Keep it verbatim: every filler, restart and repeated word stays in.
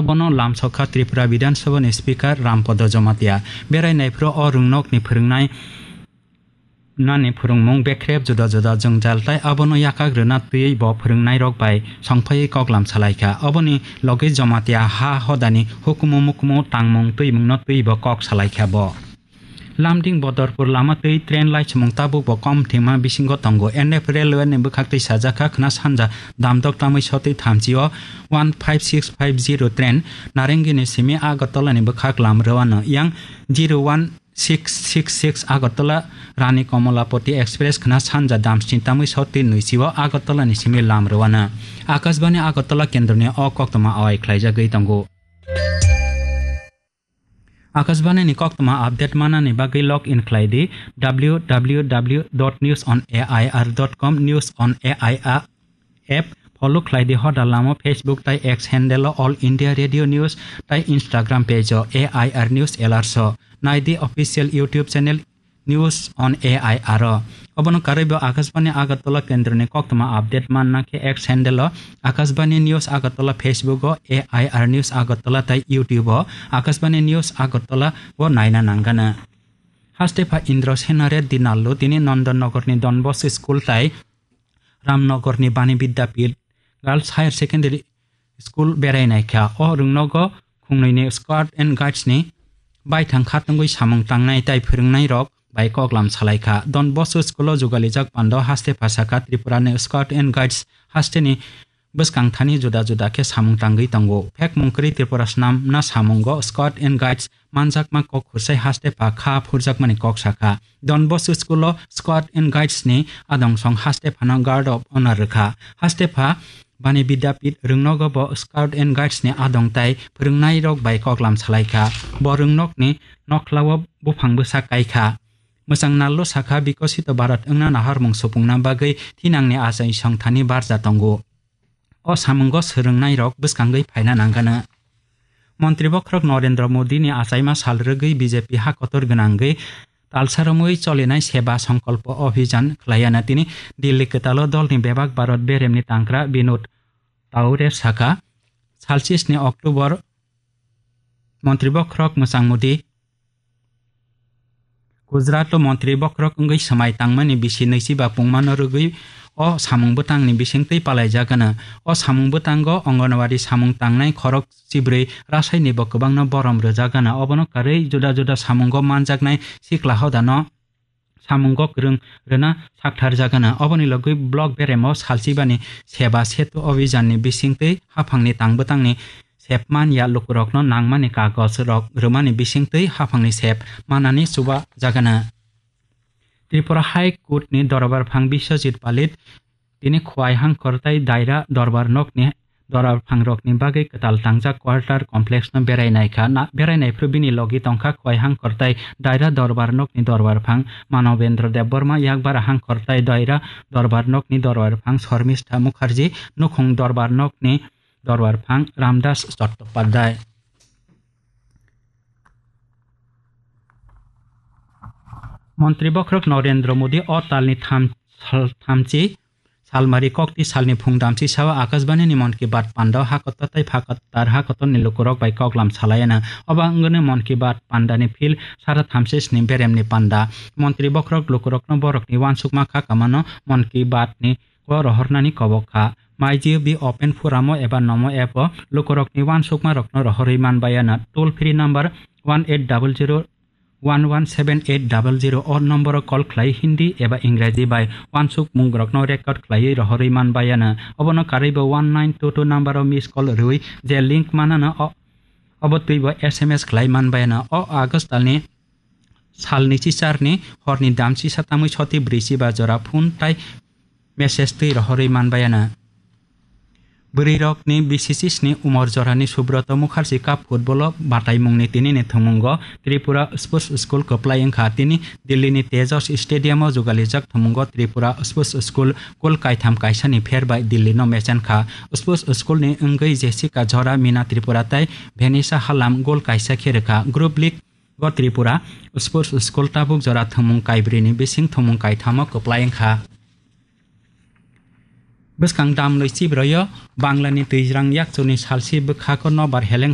Bono lamsokha Tripura Bidhan Sabha ni Speaker Rampada Jamatia. Berai naiphuru o rwngnokni phwrwngnai nani phwrwngmung bekrep juda juda jwngjal tai abono yakak rwna twiwi bo phwrwngnairok bai songphaiwi koklam salaikha. Oboni logi Jamatia ha hodani hukumu mukumu tangmung twimungno twiwi bo kok salaikha bo. Lamding Bodorpur lama twi train laichimung tabuk bo kom thwngma bisingo tongo. N F Railway ni bwkhak twi sajakha khwna sanja damdok tamwi sotwi thamchi o one five six five zero train Narengini simi Agartala ni bwkhak lam rwano yang zero one six six six Agartala Rani Komolapati Express khwna sanja damsni tamwi sotwi nwichi o Agartala ni simi lam rwano. Akashbani Agartala kendroni o koktwma awai khlaijagwi tongo. Akashbani ni koktwma update manani bagwi log in khlai di W W W dot news on A I R dot com, News on A I R app follow khlai di, hoda lamo Facebook tai X handle o All India Radio News tai Instagram page o A I R News Alerts o nai di, official YouTube channel News on A I R o. Obono karwi bo Akashbani Agartala kendroni koktwma update manna khe X handle o Akashbani News Agartala, Facebook o A I R News Agartala tai YouTube o Akashbani News Agartala o naina nangano. Haste pha Indra Sena Reddy Nallu tini Nandan Nagar ni Don Bosco School tai Ramnagar ni Bani Vidyapith Girls Higher Secondary School berai naikha. O rwngnogo khungnwi ni Scout and Guides ni baithang khatungwi samung tangnai tai phwrwngnairok bai koklam salaikha. Don Bosco School o jugalijak pando haste pha sakha Tripura ni Scout and Guides haste ni bwskang thani juda juda khe samung tangwi tongo. Phekmung kwrwi Tripura swnamna samungo Scout and Guides manjakma kok khursai haste pha kha phurjakmani kok sakha. Don Bosco School o Scout and Guides ni adong song haste phano Guard of Honor rwkha. Haste pha Bani Vidyapith rwngnogo bo Scout and Guides ni adong tai phwrwngnairok bai koklam salaikha. Bo rwngnokni nokhla o buphang bwsa kaikha. Mwchang Nallu sakha, Bikosito Bharat wngna naharmung supungna bagwi thinangni achai song thani barja tongo. O samungo swrwngnairok bwskangwi phaina nangano. Montri bokhorok Narendra Modi ni achaima sal rwgwi B J P ha kotor gwnangwi talsa romwi cholinai Seva Sankalpa Abhijan khlaiya na tini Delhi kwtalo dolni bebak Bharat beremni tangkra Binod Taure sakha, salsisni October Montri bokhorok Mwchang Modi Gujarat o montri bokhorok wngwi swmai tangmani bisi nwichiba pungmano rwgwi o samung bwtangni bisingtwi palaijagano. O samung bwtango Anganwadi samung tangnai khorok chibrwi rasaini bo kwbangno borom rwjagano. Obono karwi juda juda samungo manjaknai sikla hodano samungo kwrwng rwna saktharjagano. Oboni logwi block beremo salchibani Seva Setu Abhijan ni bisingtwi haphangni tangbwtangni sep man ya lukurokno nangmani kagoj rok rwmani bisingtwi haphangni sep manani chuba jagana. Tripura High Court ni dorbar phang Biswajit Palit tini Khowai Hangkhor tai Daira dorbar nokni dorbar phang rokni bagwi kwtal tangjak quarter complex no berai naikha. Na-, berai naiphru bini logi tongkha Khowai Hangkhor tai Daira dorbar nokni dorbar phang Manobendra Debbarma, Yakbara Hangkhor tai Daira dorbar nokni dorbar phang Shormistha Mukherjee, Nukhung dorbar nokni dorbar phang Ramdas Chattopadhyay. Montri bokhorok Narendra Modi o talni tham-, sal-, thamchi salmari kokti salni phung damchi sao Akashbani ni Mon Ki Baat panda o hakotor tai phakotor hakotor ni lukurok bai koklam salayana. Obo wngwino Mon Ki Baat panda ni phil sara thamchi sni beremni panda. Montri bokhorok lukurokno borokni uansukma kha kamano Mon Ki Baat ni o rohornani kobok kha. Maiji B open forum o eba nomo app o lukurokni uansukmarokno rohorwi manbayana. Toll free number one eight double zero one one seven eight double zero o nomboro call khlai Hindi eba Ingraji bai uansukmungrokno record khlaiwi rohorwi manbayana. Obono karwibo one nine two two nomboro miss call rwui je link manana o, obo twibo S M S khlai manbayana. O August talni salni chicharni horni damchi satamwi soti brwi chiba jora phone tai message twi rohorwi manbayana. Bwrwirokni bisi chisni umor jorani Subroto Mukherjee Cup football o bataimungni tinini thwngmungo Tripura Sports School kwplai wngkha. Tini Delhi ni Tejas Stadium o jugalijak thwngmungo Tripura Sports School goal kaitham kaisani pher bai Delhi no mechenkha. Sports School ni wngwi Jessica Jora, Mina Tripura tai Venisa Halam goal kaisa khe rwkha. Group League o Tripura Sports School tabuk jora thwngmung kaibrwi ni bising thwngmung kaitham o kwplai wngkha. Bwskang damlwi chibroi o Bangla ni twijrang yakchuni salsi bwkhak o nobar heleng